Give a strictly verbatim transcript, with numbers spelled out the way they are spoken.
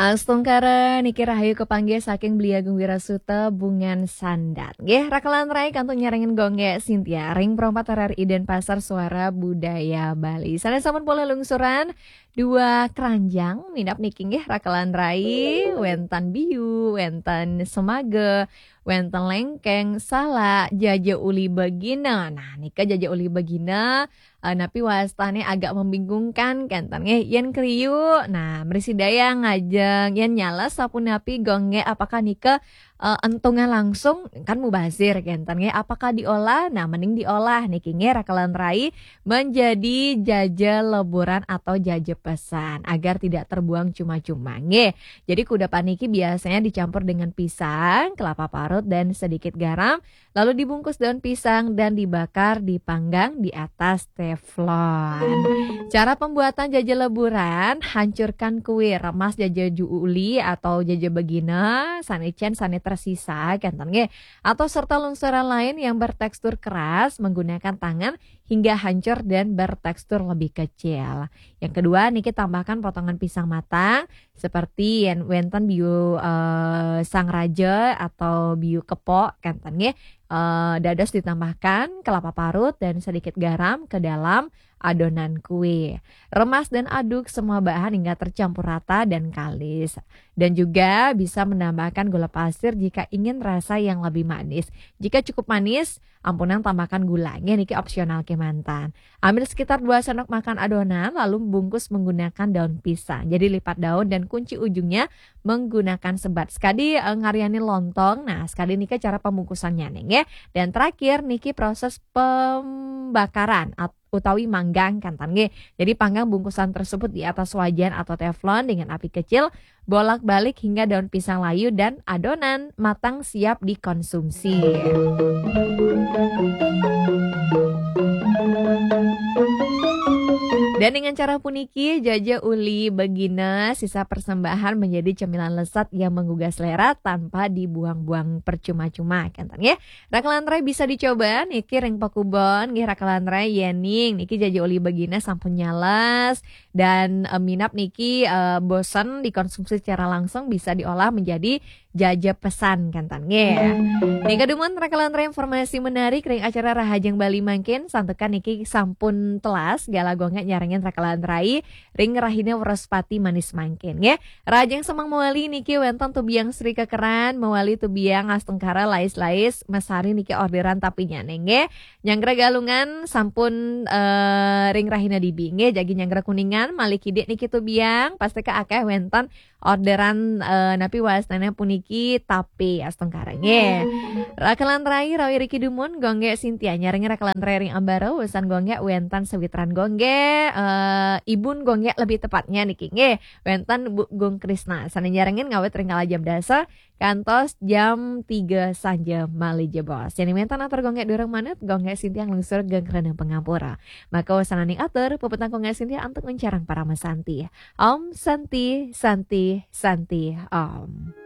Astungkara niki rahayu kapanggih saking Beli Agung Wirasuta Bungan Sandat. Nggih, rakelan rai kantun nyarengin Gonggé Sintia ring Perempat R R I Denpasar, Suara Budaya Bali. Sané sampun polih lungsuran dua keranjang, minab niki nggih rakelan rai, wénten Biu, wénten Semaga, wénten Lengkeng, Salak, Jaja Uli Begina. Nah, nika Jaja Uli Begina, eh, napi wastané agak membingungkan, kénten nggih. Yén kriu, nah, mrisi daya ngajeng. Yén nyales sapunapi, Gonggé, apakah nika, eh, entungan langsung? Kan mubazir, kénten nggih. Apakah diolah? Nah, mending diolah niki nggih, rakelan rai, menjadi jaja leburan atau jaja pesan, agar tidak terbuang cuma-cuma nggih. Jadi kudapan niki biasanya dicampur dengan pisang, kelapa parut, dan sedikit garam, lalu dibungkus daun pisang dan dibakar, dipanggang di atas teflon. Cara pembuatan jaja leburan: hancurkan kue, remas jaja ju uli atau jaja begina, sané cén sané tersisa, kénten nggih, atau serta lungsuran lain yang bertekstur keras, menggunakan tangan hingga hancur dan bertekstur lebih kecil. Yang kedua niki, tambahkan potongan pisang matang seperti yén wénten biu, eh, sang raja atau biu kepok, kénten nggih. Eh, dados ditambahkan kelapa parut dan sedikit garam ke dalam adonan kue. Remas dan aduk semua bahan hingga tercampur rata dan kalis. Dan juga bisa menambahkan gula pasir jika ingin rasa yang lebih manis. Jika cukup manis, ampunang tambahkan gula. Nggih, niki opsional kémanten. Ambil sekitar dua sendok makan adonan, lalu bungkus menggunakan daun pisang. Jadi lipat daun dan kunci ujungnya menggunakan sebat. Sekali, eh, ngaryanin lontong. Nah, sekali nika cara pembungkusannya nih, nggih. Dan terakhir niki proses pembakaran at- utawi manggang, kénten nggih. Jadi panggang bungkusan tersebut di atas wajan atau teflon dengan api kecil, bolak-balik hingga daun pisang layu dan adonan matang siap dikonsumsi. Dan dengan cara puniki, jaja uli begina sisa persembahan menjadi cemilan lezat yang menggugah selera tanpa dibuang-buang percuma-cuma, kénten nggih. Rakelan rai, bisa dicoba niki ring pakubon nggih, rakelan rai, yéning niki jaja uli begina sampun nyales dan, eh, minab niki, eh, bosen dikonsumsi secara langsung, bisa diolah menjadi jaja pesan, kénten nggih. Nika dumun rakelan rai, informasi menarik ring acara Rahajeng Bali mangkin, santukan niki sampun telas gala Gonggé nyarengin rakelan rai ring rahina Wrespati manis mangkin nggih. Rahajeng semeng mawali niki wénten Tubiang Sri Kekeran, mawali Tubiang Astungkara Lais-Lais, Mas Hari niki orderan tapinyané nggih. Nyanggra Galungan sampun, eh, ring rahina dibi nggih, jagi nyanggra Kuningan malih kidik niki Tubiang, pastika akéh wénten orderan, eh, napi wastané puniki tape Astungkara nggih. Rakelan rai, rawi riki dumun Gonggé Sintia nyarengin rakelan rai ring ambara, usan Gonggé wénten sawitran Gonggé, eh, ibun Gonggé lebih tepatnya niki nggih. Wénten Bu Gung Krisna sané nyarengin ngawit ring kala jam dasa kantos jam tiga sanja malih jebos. Yén wénten atur Gonggé durung manut, Gonggé Sintia nglungsur geng rena pangampura. Maka wasananing atur, puputang Gonggé Sintia antuk nguncarang parama santi. Om Santi, Santi, Santi, Om.